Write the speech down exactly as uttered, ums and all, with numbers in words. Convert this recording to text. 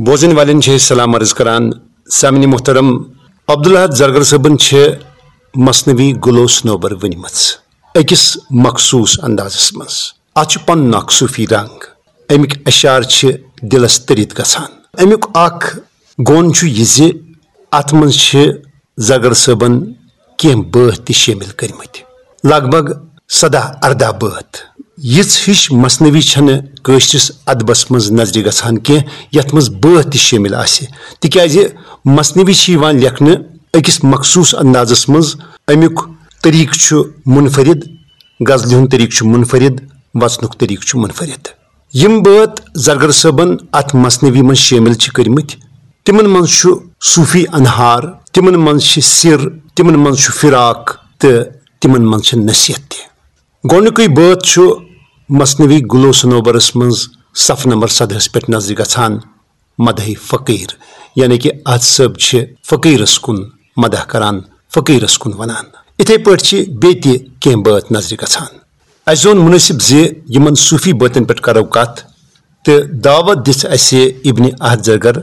بوزن والٮ۪ن چھِ أسۍ سلام عرض کران۔ سامعین محترم، عبدالاحد زرگر صٲبن چھِ مثنوی گلو صنوبر ؤنمٕژ أکِس مخصوٗص اندازس منٛز۔ اتھ چھُ پنُن اکھ صوفی رنگ۔ امیُک اشعار چھِ دلس تٔرِتھ گژھان۔ امیُک اکھ گۄن چھُ یہِ زِ اتھ منٛز چھِ زرگر صٲبن کینٛہہ بٲتھ تہِ شٲمِل کٔرمٕتۍ، لگ بگ سداہ ارداہ بٲتھ۔ یِژھ ہِش مثنوی چھنہٕ کٲشرِس ادبس منٛز نظرِ گژھان کینٛہہ، یتھ منٛز بٲتھ تہِ شٲمِل آسہِ، تِکیازِ مثنوی چھِ یِوان لیکھنہٕ أکِس مخصوٗص اندازس منٛز۔ امیُک طریقہٕ چھُ منفرد، غزلہِ ہُنٛد طریقہٕ چھُ منفرد، وژنُک طریقہٕ چھُ منفرد۔ یِم بٲتھ زرگر صٲبن اتھ مثنوی منٛز شٲمِل چھِ کٔرمٕتۍ، تِمن منٛز چھُ صوفی انہار، تِمن منٛز چھِ سِر، تِمن منٛز چھُ فراق تہٕ تِمن منٛز چھِ نصیحت تہِ۔ گۄڈٕنیُکُے بٲتھ چھُ مثنوی گلو صنوبرس منٛز صفہٕ نمبر سدہس پٮ۪ٹھ نظرِ گژھان، مدحِ فقیٖر، یعنی کہِ احد صٲب چھِ فقیٖرس کُن مدح کران، فقیٖرس کُن ونان۔ اِتھے پٲٹھۍ چھِ بیٚیہِ تہِ کینٛہہ بٲتھ نظرِ گژھان۔ اسہِ زون مُنٲسِب زِ یِمن صوفی بٲتن پٮ۪ٹھ کرو کتھ، تہٕ دعوت دِژ اسہِ ابن احد زرگر